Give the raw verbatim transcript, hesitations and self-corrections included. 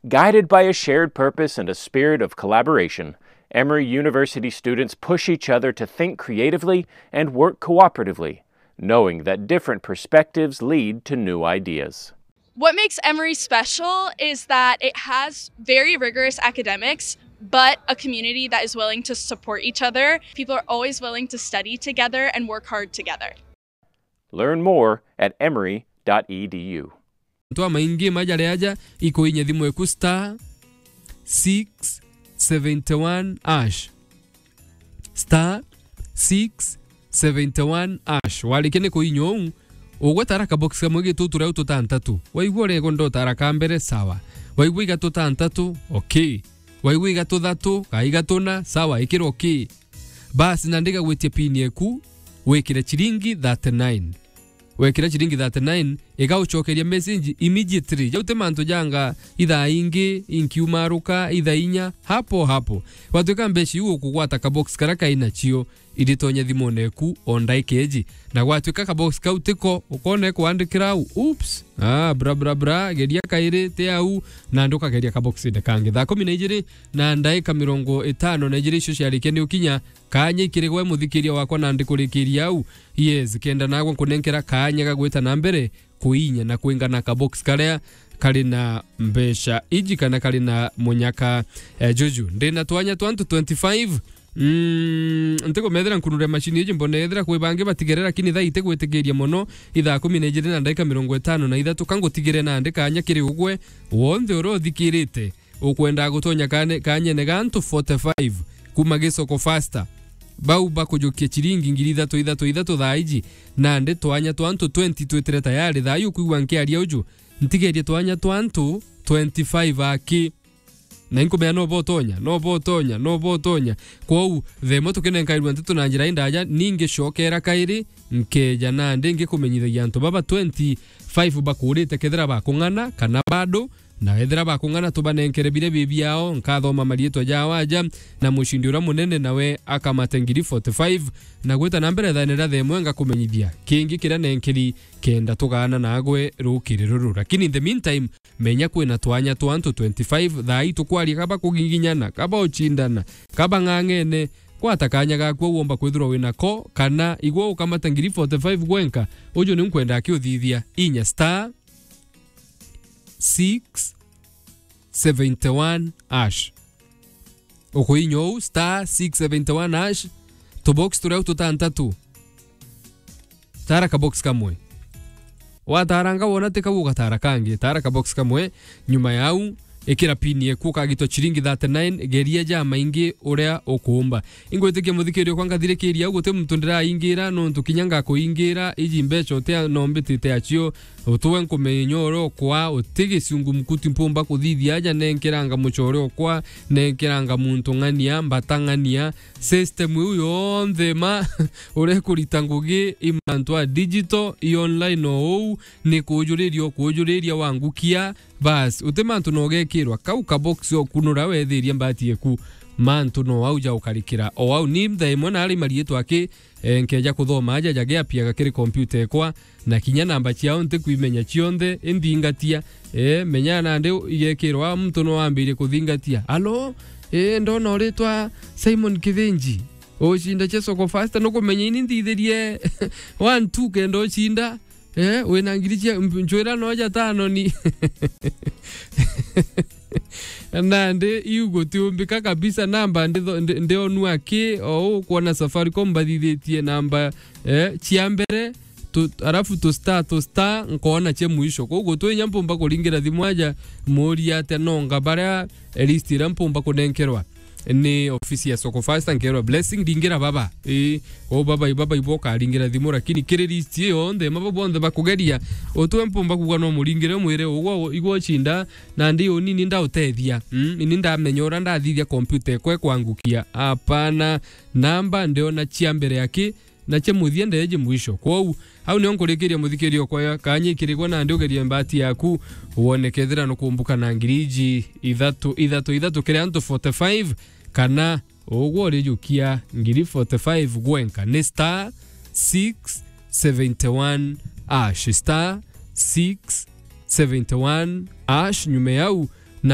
Guided by a shared purpose and a spirit of collaboration, Emory University students push each other to think creatively and work cooperatively, knowing that different perspectives lead to new ideas. What makes Emory special is that it has very rigorous academics, but a community that is willing to support each other. People are always willing to study together and work hard together. Learn more at emory dot e d u. Antu amaingi majari aja ikuinya thimu eku star six seventy one hash. Star six seventy one hash. Warikia ni kuinya uu, ugwetara kabox kamwe gi tutu riu tutantatu. Waigua urego ndotara ka mbere, sawa. Waigua iga tutantatu, okay. Waigua iga tuthatu, ka iga tuna, sawa, ikira okay. Basi, na ndigagwitie pin eku, wikire chiringi thirty nine. Wekira chiringi thirty nine, igaucokeria message immediately. Jau ti mantu janga ithaa ingi, inkiumaruka, ithaa inya, hapo hapo. Gwatuika mbeca iu ukugwata kabox karia kai nacio, iritonya thimune eku o ndaika iji. Na gwatuika kabox kau tiko, ukona ikwandikira au, oops, ah, bra, bra, bra, geria kairi, ti au, na ndukageria kaboxine kangi. Thaa kumi na ijiri na ndaika mirongo itano na ijiri icio ciarikia ni ukinya, kaanya ikiri gwe muthikiria wakwa na ndikurikiria au. Yes, kenda nagwe nkunenkera kaanya ga gwita na mbere kuinya na kwingana kabox karia kari na mbeca iji kana kari na munyaka, eh, juju. Ndina twanya twa antu twenty-five. Mm, ntikumethira nkunure machine iji, mbona ethira kwi bangi batigere, lakini thaa itigwitikiria mono, ithaa kumi na ijiri na ndaika mirongo itano na ithatu, ka ngutigire nandi kaanya kiri ugwe wonthe uria uthikirite. Ukwenda gutonya kane-, kanyene ga antu forty-five kuma Gisoko Faster. Bau bakujukia chiringi ngiri ithatu, ithatu, ithatu thaa iji, nandi twanya twa antu twenty twitire tayari. Thaa ii ukwigua nkiaria uju, ntigerie twanya twa antu twenty-five aki. Na inkumenya no botonya, no botonya, no botonya. Kwou, themo tukinenkairua nteto na njira indaja, ningi cokera kairi, nkeja nandi ngikumenyithagia antu baba twenty-five bakurite kethira bakung'ana kana bado, na ethira bakung'ana tubanenkere biria bi biao, nkathoma mariitwa jao aja, na mucindi uria munene nawe akamate ngiri forty-five, na gwita na mbere thaene ria themwe ngakumenyithia kingi kiria nenkeri kenda tugaana nagwe rukiri ruru. Lakini in the meantime, menya kwina twanya twa antu twenty-five thaa ii tukwaria, kaba kuginginyana, kaba ucindana, kaba ng'ang'ene, gwata kanya gaku au womba kwithirwa wina ko, kana igwe ukamata ngiri forty-five gwenka, uju ni nkwenda akiuthithia. Inya star six seventy one hash. Ukuinya uu, star six seventy one hash, tubox turia u tutantatu. Tara kabox kamwe. Wataranga wona ti kau ugatara kangi, tara kabox kamwe. Nyuma yau, ikira pin eku ukagitwa chiringi thirty nine, geria ja maingi uria ukuumba. Ingwitikia muthikiria kwa ngathirikiria au, guti muntu ndiraingira, nontu kinya ngakuingira, iji mbeca utia nombitite acio, utwe nkumenya uria ukwa, uti giciungu mkuti mpumba kuthithia aja, nenkeranga mucore ukwa, nenkeranga muntu ng'ania, mbata ng'ania, system iu yonthe ma uria ikurita ngugi i mantu a digital, i online o uu, ni kujuriria ukujuriria wangukia, bas, uti mantu na ugekirwa kau kabox okunura wethiria mbati eku, mantu no au ja ukarikira o au. Ni nthaa imwe nari mariitwa aki, eh, nkeja kuthoma aja jage apiaga kiri kompyuta ekwa, na kinya namba ciao ntikwimenya cionthe, inthingatia. Eh, menya nandi igekirwa muntu no ambirie kuthingatia. Alo, eh, ndona uritwa Simon Kithinji. Ucinda cia Soko Fasta, nukumenya ini nthithirie one two kenda ucinda. Eh, wina ngiri cia, mb-, ncwira no ja tano ni. Nandi iu gutiumbika kabisa, namba nditho-, ndi-, ndionua ki, o u kwona Safaricom mbathithitie namba, eh, cia mbere, tu-, arafu tu star, tu star, nkoona cia mwisho. Koguo twinya mpumba kuringira thimu aja, muuria atia nonga baria, eh, list iria mpumba kunenkerwa ni ofisi ya Soko Fasta, nkerwa Blessing, ringira baba. Ii, kwou baba, baba ibo ukaringira thimu, lakini kiri list iyo yonthe, mabo bonthe bakugeria, utwe mpumba kuuga no muringire, mwire, ugwa, igwa ucinda, nandi uni ni ndautethia. Mm, ini ndamenya uria ndathithia kompyuta ekwa ikwangukia. Apana, namba ndiona cia mbere aki, na cia muthia ndeeji mwisho. Kwou, au nio nkurikiria muthikiria okwa kanya ikirigwa nandi ugerie mbati yaku, wone kethira nukumbuka na ngiri iji ithatu, ithatu, ithatu kiri antu forty-five, kana ugwe urijukia ngiri forty-five gwenka. Ni star six seventy one hash, star six seventy one hash, nyuma yau